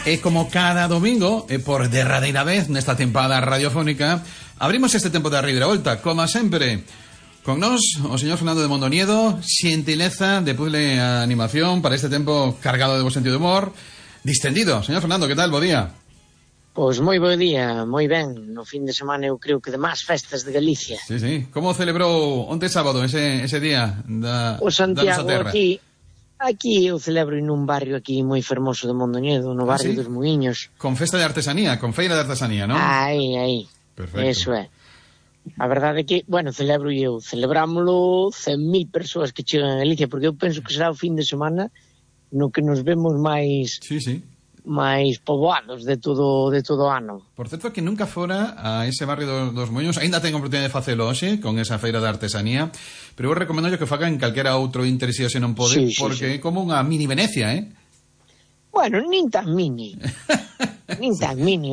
E como cada domingo, por derradeira vez nesta tempada radiofónica, abrimos este tempo da reviravolta, como sempre, con nós, o señor Fernando de Mondoñedo, xentileza de puzzle a animación para este tempo cargado de bo sentido de humor, distendido. Señor Fernando, que tal? Bo día. Pois moi bo día, moi ben. No fin de semana eu creo que de máis festas de Galicia. Sí, sí. Como celebrou onte sábado ese día da Santiago, da nosa terra? Aquí eu celebro nun barrio aquí moi fermoso de Mondoñedo, no barrio dos Muiños. Con festa de artesanía, con feira de artesanía, non? Aí. Perfecto. Eso é. A verdade é que, bueno, celebrámoslo 100.000 persoas que chegan a Galicia, porque eu penso que será o fin de semana no que nos vemos máis... Sí. máis poboados de todo o ano. Por certo que nunca fora a ese barrio dos Moños, ainda tengo oportunidade de facelo hoxe con esa feira de artesanía, pero eu recomendo que faga en calquera outro interese se non pode, porque é como unha mini Venecia, Bueno, nin tan mini. Nin tan mini.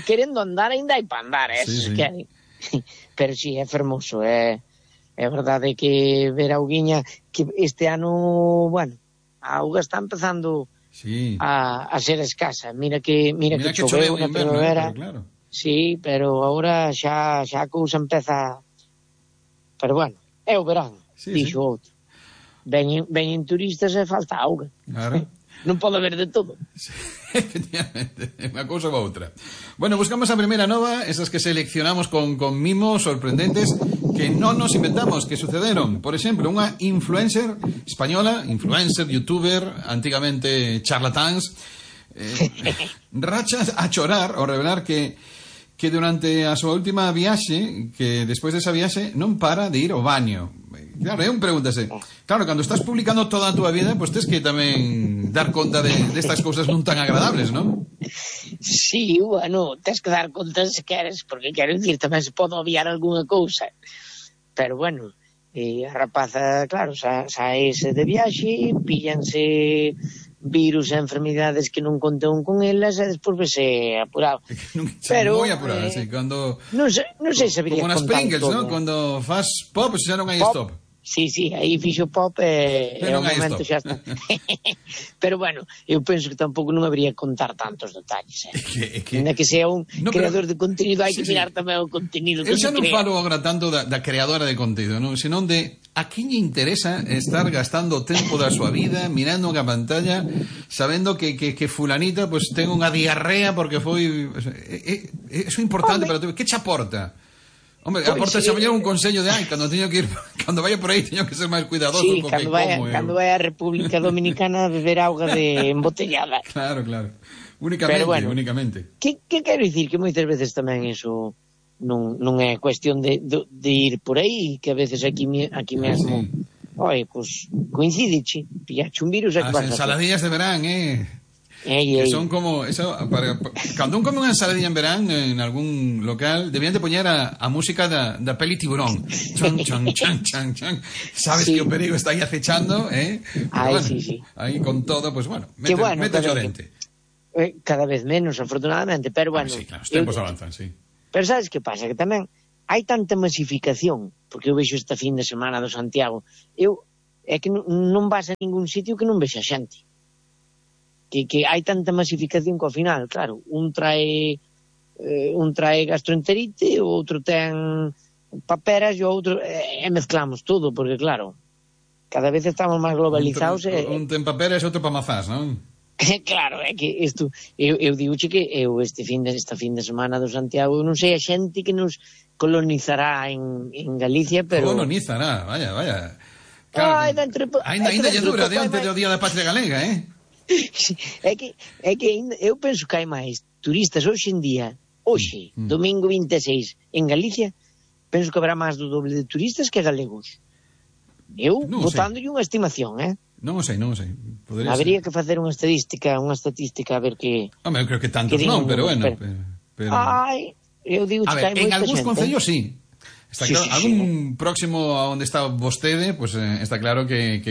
Querendo andar ainda hai para andar, que... Pero sí, é fermoso, é verdade que ver a auguiña que este ano, bueno, a auga está empezando a ser escasa. Mira que choveu na primavera. Claro. Sí, pero agora xa a cousa empeza. Pero bueno, é o verán, dixo outro. Veñen turistas e falta auga. Claro. Non pode haber de todo. Sí, efectivamente, unha cousa ou outra. Bueno, buscamos a primeira nova, esas que seleccionamos con mimos sorprendentes que non nos inventamos, que sucederon. Por exemplo, unha influencer española, youtuber, antigamente charlatáns, racha a chorar ao revelar que durante a súa última viaxe, que despois desa viaxe non para de ir ao baño. Claro, pregúntase, claro, cando estás publicando toda a túa vida, pois tens que tamén dar conta de estas cousas non tan agradables, non? Sí, bueno, tens que dar conta se queres, porque quero dicir, tamén se pode obviar algunha cousa. Pero bueno, a rapaza, claro, saese de viaxe, píllanse virus e enfermidades que non conteun con elas e despois vese apurado. Pero moi apurado, sí, cando non sei se habería como nas Pringles, todo. ¿no? Cando fas pop, xa non hai stop. Sí, aí fixo pop e o momento xa está. Pero bueno, eu penso que tampouco non habería que contar tantos detalles. Ainda que sea un creador de contenido, hai que mirar tamén o contenido que eu xa non falo agora tanto da creadora de contido, non? Senón de a quen lle interesa estar gastando o tempo da súa vida mirando unha pantalla sabendo que fulanita pues ten unha diarrea porque foi... Eso é importante para ti. Que che aporta? Hombre, aporta xa mellor un consello de cando teño que ir, cando vaya por aí teño que ser máis cuidadoso. Sí, cando vaya a República Dominicana a beber auga de embotellada. Claro. Únicamente. Que quero dicir? Que moitas veces tamén iso non é cuestión de ir por aí, que a veces aquí mesmo, pues coincidiche, pillache un virus e que vas a hacer. As ensaladillas de verán, que son como eso, cando un come unha ensaladilla en verán en algún local debían de poñer a música da peli Tiburón, chan, sabes que o perigo está aí acechando, aí con todo, pues bueno, mete o dente. Cada vez menos, afortunadamente, pero bueno, sí, claro, os tempos avanzan, sí. Pero sabes que pasa? Que tamén hai tanta masificación, porque eu vexo esta fin de semana do Santiago, é que non vas a ningún sitio que non vexa xente. Que hai tanta masificación que ao final, claro, un trae gastroenterite, o outro ten paperas e o outro mezclamos todo, porque claro, cada vez estamos máis globalizados. Un ten paperas e outro pa mazás, non? Claro, é que isto eu digoche que esta fin de semana do Santiago, non sei a xente que nos colonizará en Galicia, pero colonizará, vaya. Claro, ainda lle dura diante do Día da Patria Galega, É que eu penso que hai máis turistas hoxe en día, domingo 26 en Galicia, penso que habrá máis do doble de turistas que galegos. Eu botándolle unha estimación, Non o sei. Habería que facer unha estadística a ver que... Home, eu creo que tantos non, pero bueno. Eu digo que hai moita xente. En algúns concellos sí. Está claro, algún próximo a onde está vostede, pues está claro que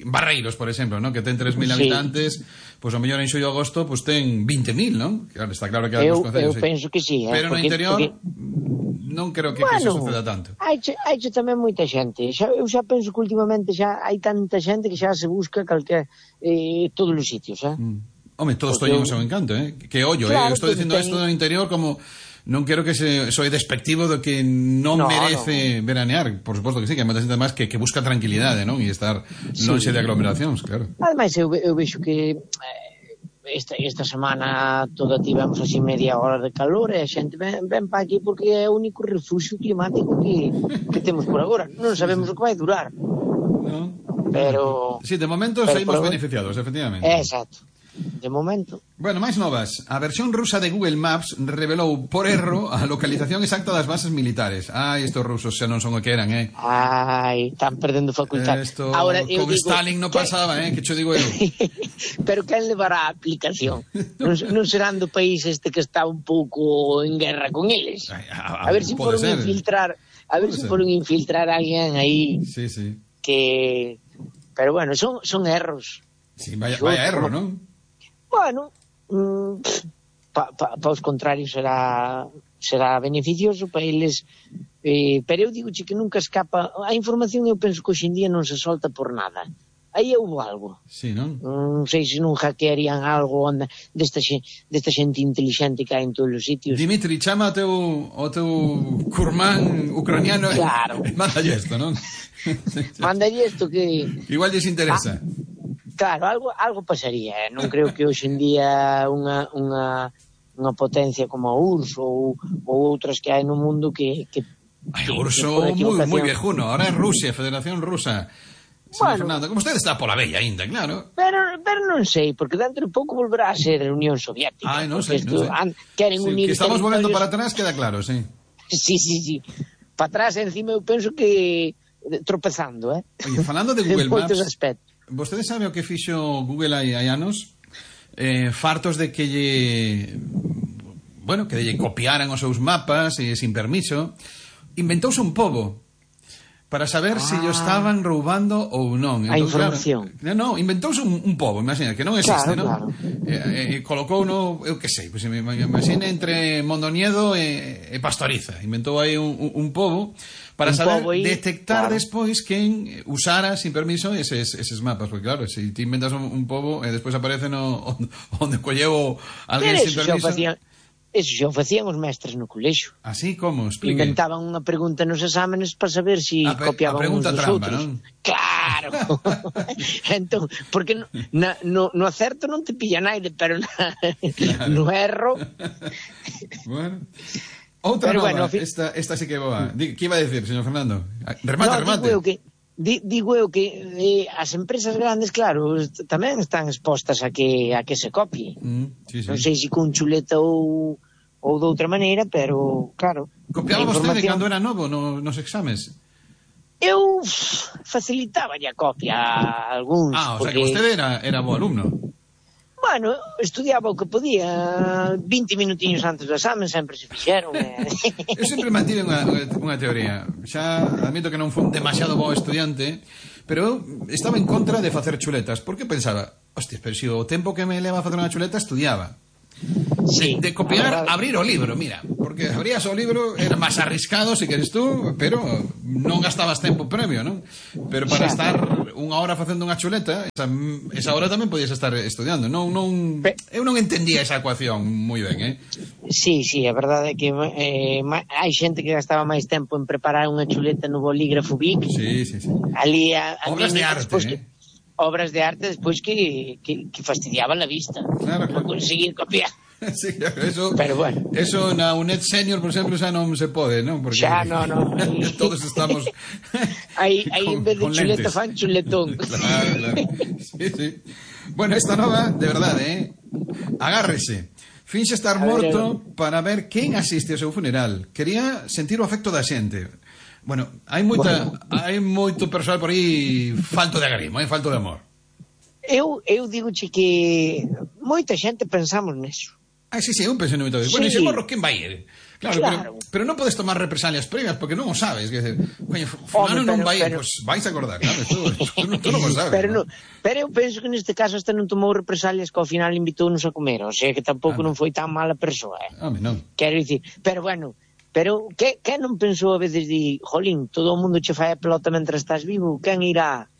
Barreiros, por exemplo, ¿no? Que ten 3.000 habitantes, pues o mellor en xullo e agosto pues ten 20.000, ¿no? Claro, está claro que algúns concellos eu penso que sí, pero no interior non creo que eso suceda tanto. Hai tamén moita xente. Eu xa penso que últimamente xa hai tanta xente que xa se busca todos os sitios, Home, todos teñen o seu encanto, que ollo, eu estou dicindo isto do interior como non quero que soy despectivo do que non merece veranear, por suposto que sí, que hai moita xente máis que busca tranquilidade, non? E estar lonxe de aglomeracións, claro. Ademais, eu vexo que esta semana toda tivemos así media hora de calor e a xente ven para aquí porque é o único refugio climático que temos por agora. Non sabemos o que vai durar. No. Pero... Sí, de momento saímos beneficiados, efectivamente. Exacto. De momento. Bueno, máis novas. A versión rusa de Google Maps revelou por erro a localización exacta das bases militares. Ai, estos rusos xa non son o que eran, Ai, están perdendo facultad. Ahora, con Stalin non pasaba, que cho digo eu. Pero quen levará a aplicación? Non serán do país este que está un pouco en guerra con eles? A ver se foron infiltrar, a alguén aí. Sí, sí. Que... Pero bueno, son erros. Sí, vaya erro, non? Bueno, para os contrarios será beneficioso para eles, pero eu digo que nunca escapa a información. Eu penso que hoxe en día non se solta por nada. Aí houve algo. Sí, non? Non sei se non hackearían algo desta xente inteligente que hai en todos os sitios. Dimitri, chama o teu curmán ucraniano. Claro. Mándalle isto, non? Mándalle isto que... Igual lles interesa. Claro, algo pasaría. Non creo que hoxe en día unha potencia como a URSS ou outras que hai no mundo que o urso moi viejuno. Ahora é Rusia, Federación Rusa. Bueno, Fernando, como usted está pola bella ainda, claro. Pero non sei, porque dentro de pouco volverá a ser a Unión Soviética. Ai, non sei. Queren unir que estamos volvendo para atrás, queda claro, sí. Sí. Para atrás, encima, eu penso que tropezando, Oye, falando de Google Maps, aspectos. Vostede sabe o que fixo Google hai anos? Fartos de que lle copiaran os seus mapas sin permiso, inventouse un pobo para saber se lle estaban roubando ou non. A información. Claro, non, inventouse un pobo, imagina, que non existe, claro, non? Colocou eu que sei, pues, imagina entre Mondoñedo e Pastoriza. Inventou aí un pobo para saber detectar despois quen usara sin permiso eses mapas, porque claro, se ti inventas un pobo e despois aparece onde colleu alguén sin permiso. Eso xa o facían os mestres no colexo. Así como? Explique. Inventaban unha pregunta nos exámenes para saber se copiaban uns dos trampa, outros. Non? Claro. Entón, porque no acerto non te pilla naide, pero no erro. Bueno. Outra nova, esta sí que é boa. Que iba a decir, señor Fernando? Remate. Digo eu que as empresas grandes, claro, tamén están expostas a que se copie. Sí. Non sei se con chuleta ou de outra maneira, pero claro. Copiaba vostede cando era novo nos exames? Eu facilitaba a copia a algúns. O sea que vostede era bo alumno. Bueno, estudiaba o que podía 20 minutiños antes do examen, sempre se fixeron. Eu sempre mantive unha teoría. Xa admito que non fui un demasiado bo estudiante, pero eu estaba en contra de facer chuletas, porque pensaba, hostia, pero se o tempo que me leva a facer unha chuleta estudiaba. Sí, de copiar, abrir o libro, mira, porque abrías o libro, era máis arriscado se queres tú, pero non gastabas tempo previo, non? Pero para estar unha hora facendo unha chuleta, esa hora tamén podías estar estudiando. Eu non entendía esa ecuación moi ben, Sí, é verdade que hai xente que gastaba máis tempo en preparar unha chuleta no bolígrafo Bic. Sí. Ali obras de arte, obras de arte despois que fastidiaban la vista. Claro. Para conseguir copiar. Sí, eso, pero bueno. Eso na UNED Senior, por exemplo, xa non se pode, non? Porque xa non. Todos estamos aí en vez de chuleta fan chuletón. Claro. Sí. Bueno, esta nova, de verdade, agárrese. Finxe estar morto para ver quen asiste ao seu funeral. Quería sentir o afecto da xente. Bueno, hai moito persoal por aí falto de agarimo, falto de amor. Eu digo-che que moita xente pensamos neso. Sí, eu pensei no método. Bueno, e se morro, quen vai ir? Claro. Pero non podes tomar represalias previas porque non o sabes. Coño, fulano non vai ir, pois vais a acordar, claro. Tú non o sabes. Pero eu penso que neste caso hasta non tomou represalias que ao final invitounos a comer. O sea que tampouco non foi tan mala persoa. Non. Quero dicir, pero bueno, que non pensou a veces de, jolín, todo o mundo che fai a pelota mentre estás vivo, quen irá?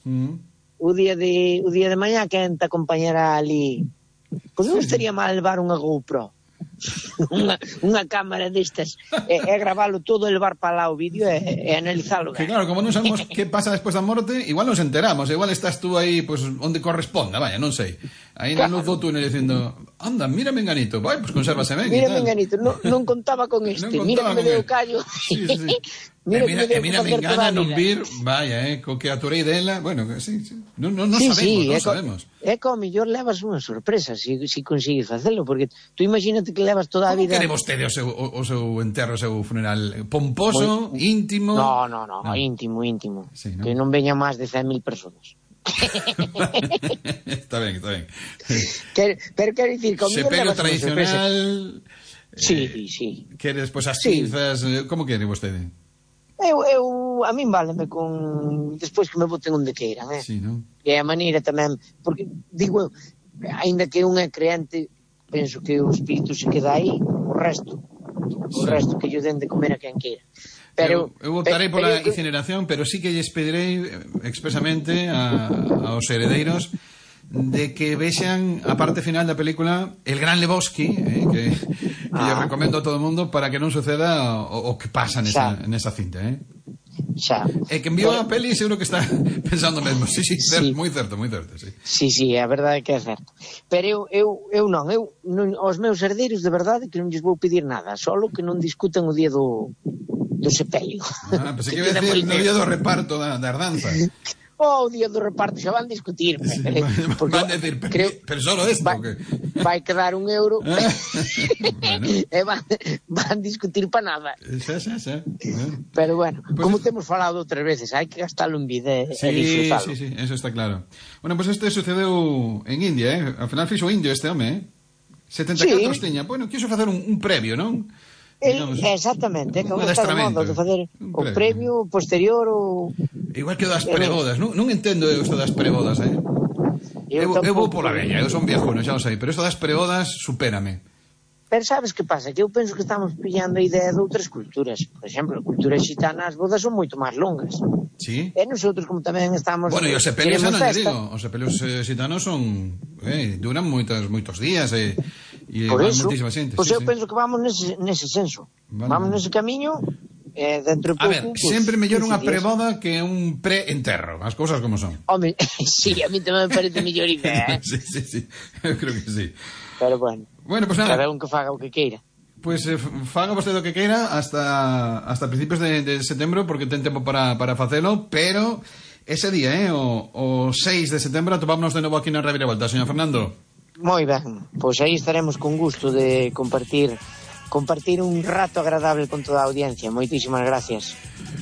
O día de mañá, quen te acompañará ali Pois non estaría mal levar unha GoPro. unha cámara destas e gravalo todo, levar para lá o vídeo e analizalo. Que claro, como non sabemos que pasa despois da morte, igual nos enteramos, igual estás tú aí pues, onde corresponda, vaya, non sei, aí na luz do túnel dicindo, anda, mira Menganito, vai, pues consérvase ben. Mira Menganito, non contaba con este, mira que me deu callo. Sí. Mira Mengana non vir, vaya, co que aturei dela, bueno, sí. Non sabemos. É como mellor levas unha sorpresa se consigues facelo, porque tú imagínate que levas toda a vida... Como quere vostede o seu enterro, o seu funeral? Pomposo, íntimo? No, íntimo. Sí, ¿no? Que non veñan máis de 100.000 personas. Está ben. Pero quero dicir, como sepelio tradicional... Sí. Quere despois as cinzas... Como quere vostede? Eu a min váleme con despois que me boten onde queiran, Sí, non? E a maneira tamén, porque digo, aínda que un é creente, penso que o espírito se queda aí, o resto que lle den de comer a quen queira. Pero eu votarei pola incineración, pero sí que lles pedirei expresamente aos heredeiros de que vexan a parte final da película El Gran Lebowski, que yo recomendo a todo o mundo para que non suceda o que pasa nesa cinta, Xa. E que enviou a peli seguro que está pensando mesmo. Sí, certo, moi certo, sí. Sí, a verdade é que é certo. Pero eu non, aos meus herdeiros de verdade que non lles vou pedir nada, solo que non discutan o día do sepelio. Pensei que iba a decir no día do reparto da herdanza. O día do reparto xa van discutir, van decir, pero solo esto vai quedar €1 bueno. E van discutir para nada. Xa. Pero bueno, pues, como temos falado outras veces, hai que gastalo en vida e disfrutalo. Sí, eso está claro. Bueno, pues este sucedeu en India, Al final fixo indio este home, 74 tiña. Bueno, quiso facer un previo, non? Exactamente, que agora está de moda de facer o previo, posterior ou... Igual que o das prebodas, non entendo isto das prebodas, Eu vou pola vella, eu son viejuno, xa o sei, pero isto das prebodas supérame. Pero sabes que pasa? Que eu penso que estamos pillando a idea de outras culturas. Por exemplo, a cultura xitana, as bodas son moito máis longas. Sí. E nosotros, como tamén estamos... Bueno, e os sepelios, non digo, os sepelios xitanos son... duran moitos días, por eso, pois eu penso que vamos nese senso. Vamos nese camiño, dentro de pouco... A ver, sempre mellor unha preboda que un pre-enterro, as cousas como son. Home, sí, a mí tamén me parece mellor idea, Sí, eu creo que sí. Pero bueno, pues nada. Cada un que faga o que queira. Pues faga vostede o que queira hasta principios de setembro, porque ten tempo para facelo, pero ese día, o 6 de setembro, atopámonos de novo aquí na Reviravolta, señor Fernando. Moi ben, pois aí estaremos con gusto de compartir un rato agradable con toda a audiencia. Moitísimas gracias.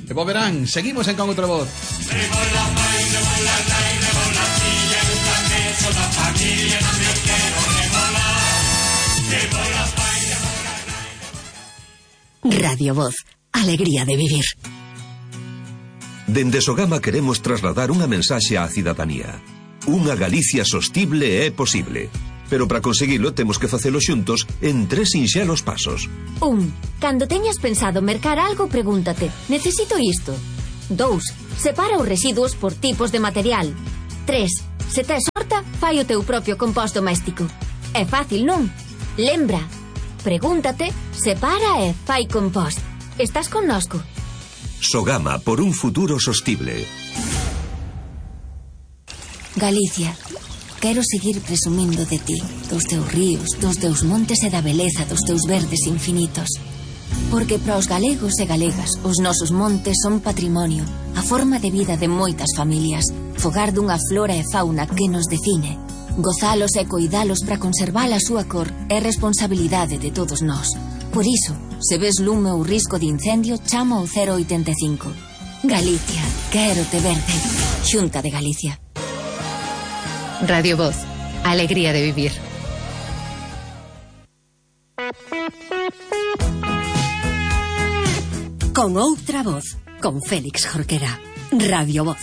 E vos verán, seguimos en Con Outra Voz. Radio Voz, alegría de vivir. Dende Sogama queremos trasladar unha mensaxe á cidadanía. Unha Galicia sostible é posible. Pero para conseguilo temos que facelo xuntos en 3 sinxelos pasos. 1. Cando teñas pensado mercar algo, pregúntate: necesito isto? 2. Separa os residuos por tipos de material. 3. Se tes horta, fai o teu propio compost doméstico. É fácil, non? Lembra, pregúntate, separa e fai compost. Estás connosco? Sogama, por un futuro sostible. Galicia, quero seguir presumindo de ti, dos teus ríos, dos teus montes e da beleza dos teus verdes infinitos. Porque para os galegos e galegas, os nosos montes son patrimonio, a forma de vida de moitas familias, fogar dunha flora e fauna que nos define. Gozalos e coidalos para conservar a súa cor é responsabilidade de todos nós. Por iso, se ves lume ou risco de incendio, chama ao 085. Galicia, quero te verde. Xunta de Galicia. Radio Voz, alegría de vivir. Con Outra Voz, con Félix Jorquera. Radio Voz.